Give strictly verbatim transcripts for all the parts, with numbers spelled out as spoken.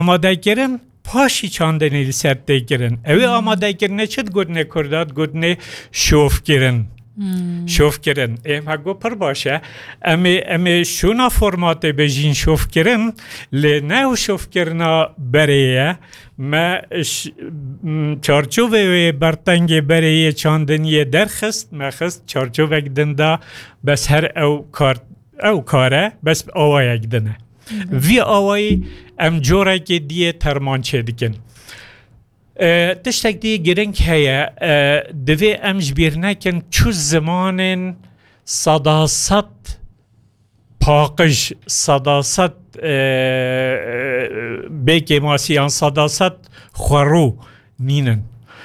amadekirin, paşî çandinê li ser tê kirin. Ew ê amadekirinê çi digotinê Kurda, digotinê şovkirin. Şovkirin. Ê, me got pir baş e. Em ê, em ê şûna formatê bêjîn şovkirin, lê ne ew şovkirina berê ye. Me ş-, m, çarçovê wê bertengê berê yê çandiniyê derxist, me xist çarçovek din da, bes her ew kar, ew kar e, bes awayek din e. Vî awayî em corekê diyê terman çêdikin. E, tiştek dî giring heye, e, divê em ji bîr nekin çu zimanên sedased paqij, sedased, e, e, bêkêmasî yan sedased xwerû nînin.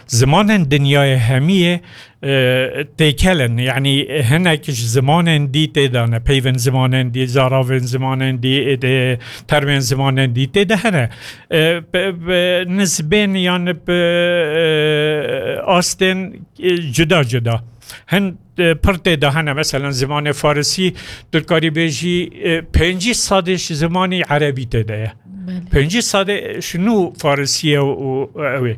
Zimanên dinyayê hemiyê, e, têkel in. Yanî hinek ji zimanên dî tê de ne. Peyvên zimanên dî, zaravên zimanên dî, e, de, termên zimanên dî tê de hene. E, bi, bi nizbên yan bi, e, astên, e, cuda cuda. Hin, e, pir tê de hene. Meselen zimanê farisî, tu dikarî bêjî, e, pêncî sedê ji zimanî erebî tê de ye. Belê. Pêncî sedê ji nû farisî ye û, û ew ê.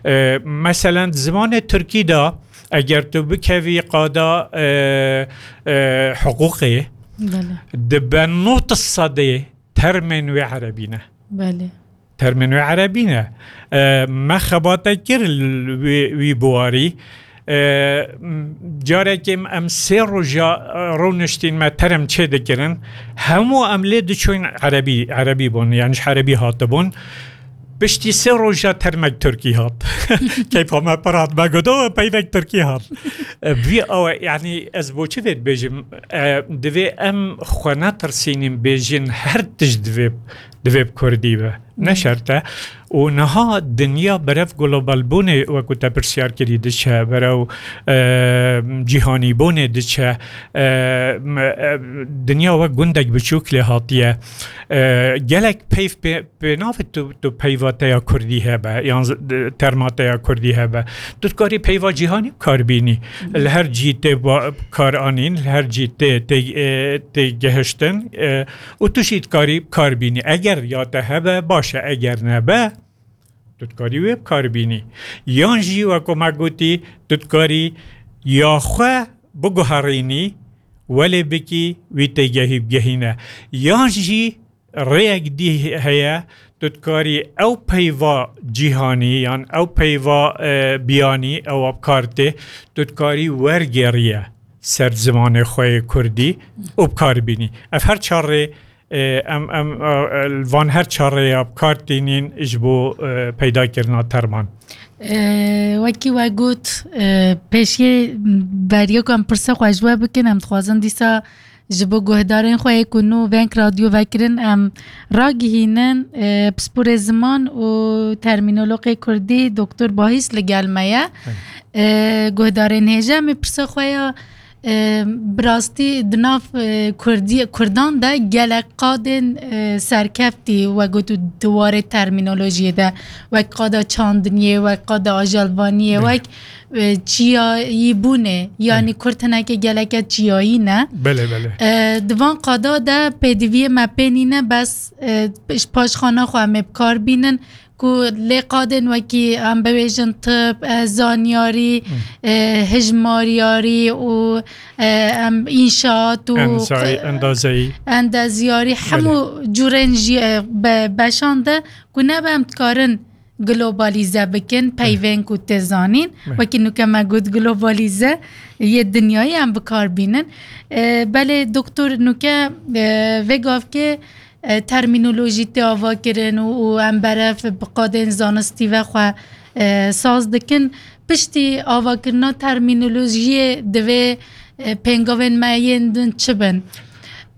E, meselen zimanê tirkî de eger tu bikevî qada, e, e, hiqûqê, Belê. dibe nod sedê termên wê erebî ne. Belê. Termên wê erebî ne. E, me xebate kir li wê, wî biwarî. E, m-, carekê em sê roja, e, rûniştîn me term çê dikirin. Hemû em lê diçûn erebî, erebî bûn, yani ji erebî hatibûn. Piştî sê roja termek tirkî hat. Keyfa me pir hat. Me got, "O, peyvek tirkî hat." E, vî awe, yani ez bo çi vê dibêjim? E, divê em xwe netirsînin bêjin her tişt divê, divê bi kurdî be. Ne şert e. Û niha dinya berev globalbûnê, wekû te pirsyar kirî, diçe, berev, e, cîhanîbûnê diçe. E, m-, e, dinya wek gundek biçûk lê hatiye. E, gelek peyv pê, pê navê tu, tu peyva te ya kurdî hebe, yan z-, d-, terma te ya kurdî hebe. Tu dikarî peyva cîhanî bi kar bînî. Li her cî tê ba-, kar anîn, li her cî tê, tê, e, tê gehiştin, e, û tu jî dikarî bi kar bînî. Eger ya te hebe, baş e, eger nebe, tu dikarî wê bi kar bînî. Yan jî, wek ku me gotî, tu dikarî ya xwe biguherînî, welê bikî, wî têgehî bigehîne. Yan jî rêyek dî heye, tu dikarî ew peyva cîhanî yan ew peyva, e, biyanî, ew bi kar tê, tu dikarî wergêriye ser zimanê xwe yê kurdî û bi kar bînî. Ev her çar rê, e, em, em, e, e, li van her çar rêya bi kar tînîn ji bo, e, peydakirina terman. E, wekî we got, e, pêşiyê beriya ku em pirsa xwe ji we bikin, em dixwazin dîsa ji bo guhdarên xwe yê ku nû Veng Radyo vekirin, em ragihînin, e, pisporê ziman û termînologê kurdî Doktor Bahîs li gel me ye. E, guhdarên hêja, em ê pirsa xwe ya, e, bi rastî di nav, e, kurdî-, kurdan de gelek qadên, e, serkeftî, we got, di warê termînolojiyê de, wek qada çandiniyê, wek qada ajelvaniyê, Belê. wek e, çiyayî bûnê, yanî Belê. Kurd hinekê geleke çiyayî ne. Belê, belê. E, di van qada de pêdiviyê me pê nîne, bes, e, ji paşxana xwe em ê bi kar bînin ku lê qadên wekî em bibêjin tib, e, zanyarî, Hı. e, hijmaryarî û, e, em înşaat û Endazayî, endazeyî. Endezyarî, Belê. hemû cûrên jî, e, be-, beşan de ku nebe em dikarin globalîze bikin, peyvên ku tê zanîn. Wekî nuke me got globalîze yê dinyayê em bi kar bînin. E, belê doktor nuke, e, vê gavkê, e, termînolojî tê ava kirin û, û em berev bi qadên zanistî ve xwe, e, saz dikin. Piştî avakirina termînolojiyê divê, e, pêngavên me yên din çi bin?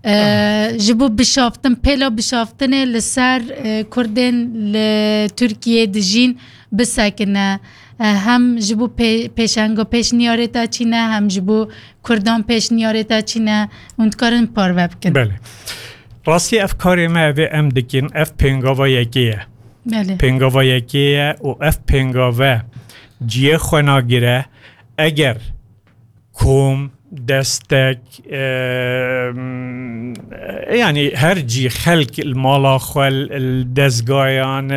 E, ji bo bişaftin, pêla bişaftinê li ser, e, Kurdên li Tirkiyê dijîn bisekine. E, hem ji bo pê-, pêşenga pêşniyarê te çî ne, hem ji bo Kurdan pêşniyarê te çî ne, hûn dikarin parve bikin. Belê. Rastî ev karê me, evê em dikin, ev pêngava yekê ye. Belê. Pêngava yekê ye û ev pêngave ciyê xwe nagire. Eger kom, destek, e, yani her cî xelk li mala xwe, li dezgayan,